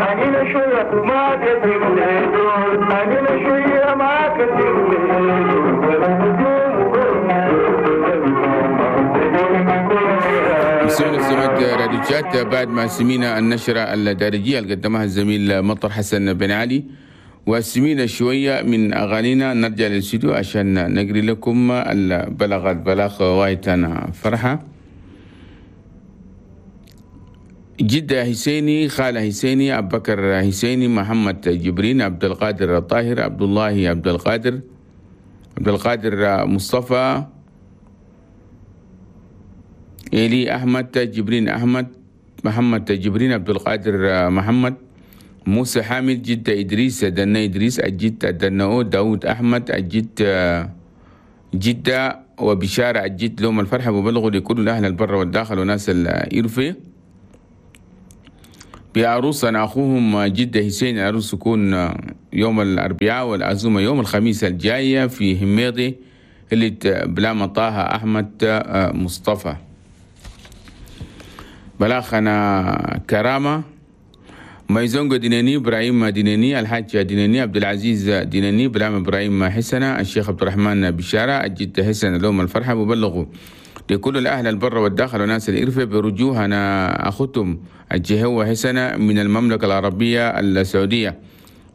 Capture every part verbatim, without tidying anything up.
أنا شوية ما كتير أنا شوية ما كتير. راديو تشات بعد ما سمينا النشرة الدارجية اللي قدمها الزميل مطر حسن بن علي، وسمينا شوية من أغانينا. نرجع للاستوديو عشان نقري لكم البلاغات. بلاغ وايتنا فرحة جدة حسيني، خالة حسيني، أبو بكر حسيني، محمد جبرين، عبد القادر الطاهر، عبد الله عبد القادر، عبد القادر مصطفى، إيلي أحمد، جبرين أحمد، محمد جبرين، عبد القادر محمد، موسى حامد، جدة إدريس، دنا إدريس، الجد دناو، داود أحمد، الجد جدة، وبشارة الجد. لهم الفرحة وبلغوا لكل أهل البر والداخل وناس الإرفي بعروسنا أخوهم جدة حسين. العروس يكون يوم الأربعاء والعزومة يوم الخميس الجاية في هميضي اللي بلا طه أحمد مصطفى. بلاخنا كرامة ميزونغو ديناني، إبراهيم ديناني، الحاج ديناني، عبد العزيز ديناني، بلام إبراهيم حسنة، الشيخ عبد الرحمن بشارة، الجد حسن. لهم الفرحة وبلغوا لكل الأهل البر والداخل وناس الإرفة برجوهنا أخوتهم الجهوة حسنة من المملكة العربية السعودية،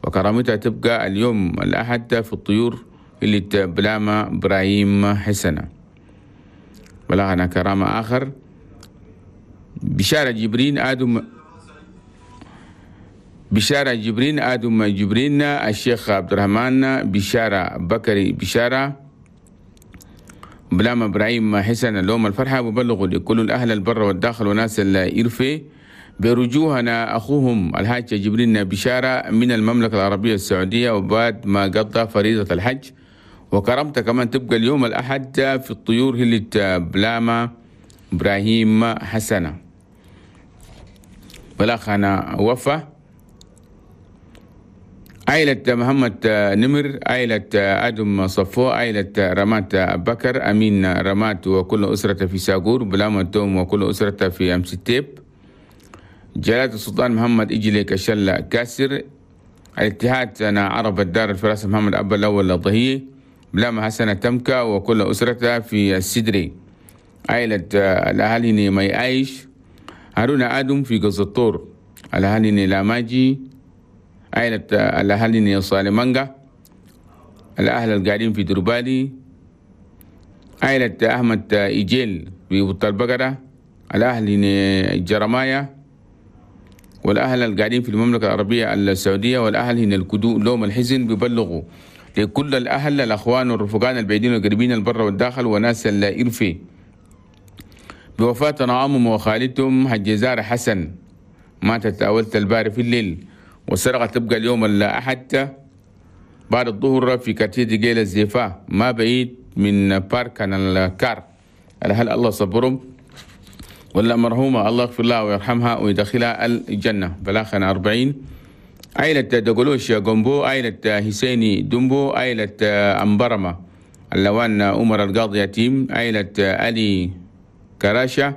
وكرامتها تبقى اليوم الأحد في الطيور اللي بلامة إبراهيم حسنة. بلغنا كرامة آخر بشارة جبرين آدم، بشارة جبرين آدم جبرين، الشيخ عبد الرحمن بشارة بكري بشارة، بلام إبراهيم حسن. لهم الفرحة وبلغوا لكل الأهل البر والداخل وناس الإرفي برجوهنا أخوهم الحاج جبرين بشارة من المملكة العربية السعودية، وبعد ما قضى فريضة الحج. وكرمته كمان تبقى اليوم الأحد في الطيور اللي بلامة إبراهيم حسنة. بلاخنا وفا عائلة محمد نمر، عائلة آدم صفو، عائلة رمات بكر، أمين رمات وكل أسرة في ساقور، بلامة توم وكل أسرة في أمستيب، جلالة السلطان محمد إجلي كشلة كاسر، الاتحاد أنا عرب الدار الفراسة محمد أبا الأول الضهي، بلامة حسنة تمكة وكل أسرتها في السدري، عائلة الأهالي مي عايش، هارون آدم في قص الطور، الأهالي لاماجي، عائلة الأهالي صالمانجا، الأهل القاعدين في دربالي، عائلة أحمد إيجيل في بطة البقرة، الأهل جرمايا، والأهل القاعدين في المملكة العربية السعودية، والأهل هنا الكدو لوم الحزن. بيبلغوا لكل الأهل الأخوان والرفقان البعيدين والقريبين البر والداخل وناس الإرفي بوفاة نعمهم وخالتهم حجزار حسن، ماتت أولت الباري في الليل، والسرقة تبقى اليوم الأحد بعد الظهر في كارتيه ديجيل الزيفا ما بعيد من بارك الكار. هل الله صبرهم ولا مرحومة الله يغفر لها ويرحمها ويدخلها الجنة. بلاخنا أربعين عائلة دقلوش جومبو، عائلة حسيني دمبو، عائلة أمبرمة اللوان عمر القاضي يتيم، عائلة علي كراشة،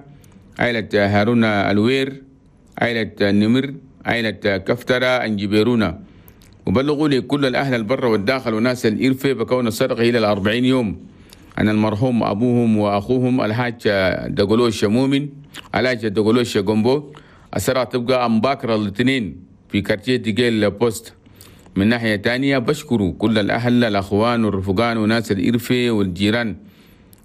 عائلة هارون الوير، عائلة النمر، عائلة كفترة أنجبيرونا. وبلغوا لي كل الأهل البر والداخل وناس الإرفة بكون السرقة إلى الأربعين يوم أن المرحوم أبوهم وأخوهم الحاج دقلوش مؤمن، الحاج دقلوش جومبو. السرقة تبقى أمباكر الاثنين في كارتيه ديجيل بوست. من ناحية تانية بشكروا كل الأهل الأخوان والرفقان وناس الإرفة والجيران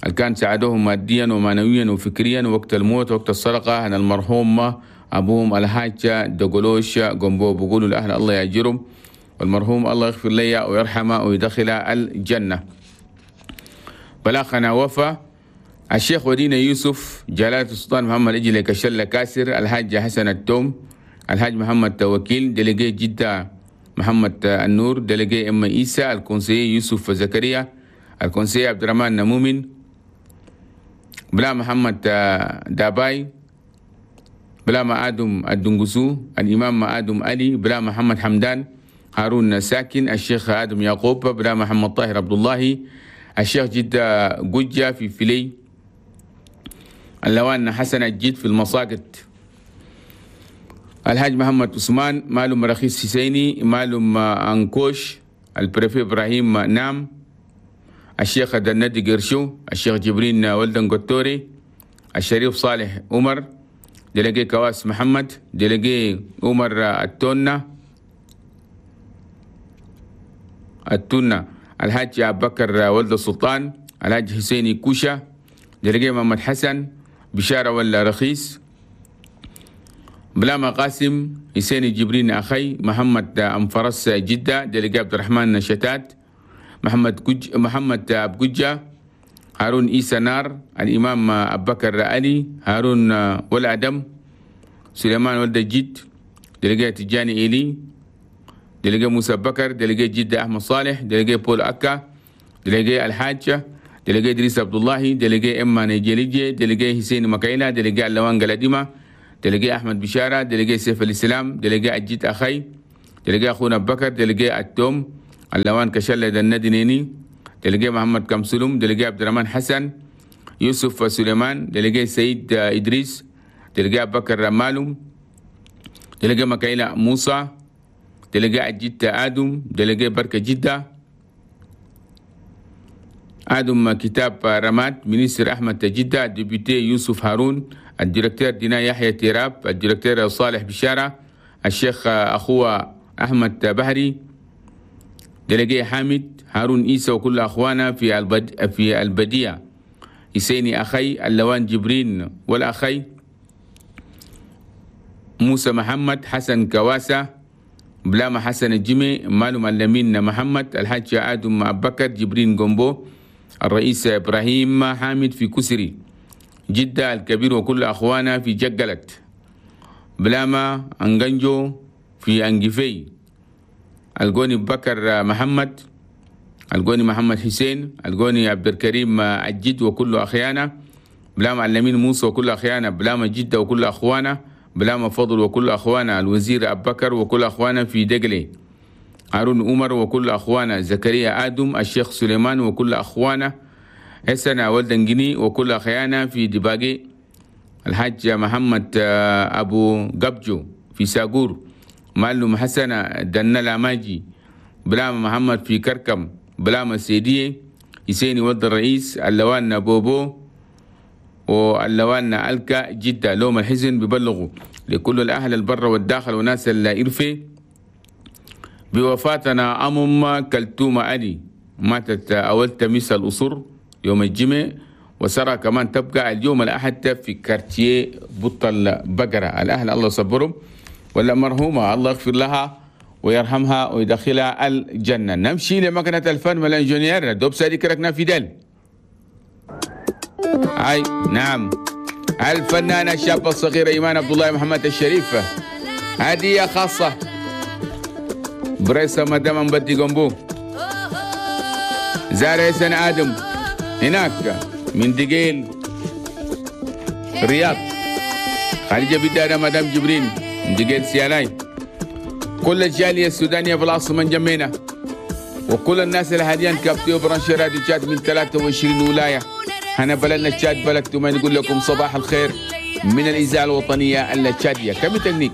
اللي كان ساعدوهم ماديا ومعنويا وفكريا وقت الموت وقت السرقة أن المرحوم أبوهم الحاج دقلوش جومبو. بقولوا الأهل الله يأجرهم والمرحوم الله يغفر لي ويرحمه ويدخله الجنة. بلاخنا وفا الشيخ ودينا يوسف، جلالة السلطان محمد إجلي كشلة كاسر، الحاج حسن التوم، الحاج محمد توكيل، délégué جدة محمد النور، délégué أم إيسى، ال conseiller يوسف زكريا، ال conseiller عبد الرحمن نمومن، بلا محمد داباي، بلا ما آدم الدنقسو، الإمام آدم علي، بلا محمد حمدان، هارون ساكن، الشيخ آدم يعقوب، بلا محمد طاهر عبد الله، الشيخ جدة قجة في فيلي، اللوان حسن الجد في المساقط. الحاج محمد عثمان مالوم رخيص حسيني مالوم أنكوش ال préfet إبراهيم نام الشيخ دندي قرشو الشيخ جبرين ولدن قطوري الشريف صالح عمر délégué كواس محمد délégué عمر التونة التونة الحاج أبو بكر ولد السلطان الحاج حسيني كوشة délégué محمد حسن بشارة ولا رخيص بلاما قاسم حسين جبرين أخي محمد أنفرس جدة délégué عبد الرحمن شتات محمد كج محمد أبججة هارون إيسى نار الإمام أبو بكر علي هارون ولا أدم سليمان ولد جد délégué تجاني إيلي délégué موسى بكر délégué جدة أحمد صالح délégué بول أكا délégué الحاجة délégué إدريس عبد الله délégué إما نيجيريجي délégué حسين مكايلة délégué اللوان قلاديمة délégué أحمد بشارة délégué سيف الإسلام délégué أجيت أخي délégué أخونا بكر délégué التوم اللوان كشلة الندنيني délégué محمد كمسلوم délégué عبد الرحمن حسن يوسف سليمان délégué سيد إدريس délégué أبو بكر مالوم délégué مكايلة موسى délégué أجيت آدم délégué بركة جدة آدم كتاب رماد ministre أحمد جدة député يوسف هارون ال directeur دينا يحيى تيراب ال directeur صالح بشارة الشيخ أخوه أحمد بحري délégué حامد هارون إيسى وكل أخوانا في البد في البديع حسيني أخي اللوان جبرين والأخي موسى محمد حسن كواسة بلاما حسن الجمي مالو معلمين محمد الحاج آدم أبو بكر جبرين جومبو الرئيس إبراهيم حامد في كسري جدة الكبير وكل أخوانا في جقلت بلاما أنجنجو في أنجفي الجوني بكر محمد الجوني محمد حسين الجوني عبد الكريم الجد وكل أخيانا بلاما علمين موسى وكل أخيانا بلاما جدة وكل أخوانا بلاما فضل وكل أخوانا الوزير أبو بكر وكل أخوانا في دقلي هارون عمر وكل أخوانا زكريا آدم الشيخ سليمان وكل أخوانا حسن ولدنجني وكل أخيانا في دباقي الحاج محمد أبو قبجو في ساقور معلم حسن دنلا ماجي بلاما محمد في كركم بلاما سيدية حسيني ولد الرئيس اللوان بوبو واللوان ألكا جدة لوم الحزن ببلغوا لكل الأهل البر والداخل وناس الإرفي بوفاتنا أمم كلتومة علي ماتت أول تميس الأسر يوم الجمعة وسرى كمان تبقى اليوم الأحد في كارتيه بطل بقرة. الأهل الله صبرهم ولا مرحومة الله يغفر لها ويرحمها ويدخلها الجنة. نمشي لمكنة الفن والإنجنيير دوب سادي كركنا في دل. هاي نعم الفنانة الشابة الصغيرة إيمان عبد الله محمد الشريف هدية خاصة بريسة مدام مبدي جنبو زارع سن آدم هناك من دقيل الرياض خارجة بدانا مدام جبرين من دقيل سياناي كل الجالية السودانية في العاصمة جمينة وكل الناس اللي حاليا كابتيو برانشي راديو تشاد من ثلاثة وعشرين ولاية. هنا بلدنا تشاد بلدكم نقول لكم صباح الخير من الإذاعة الوطنية التشادية. كم تكنيك.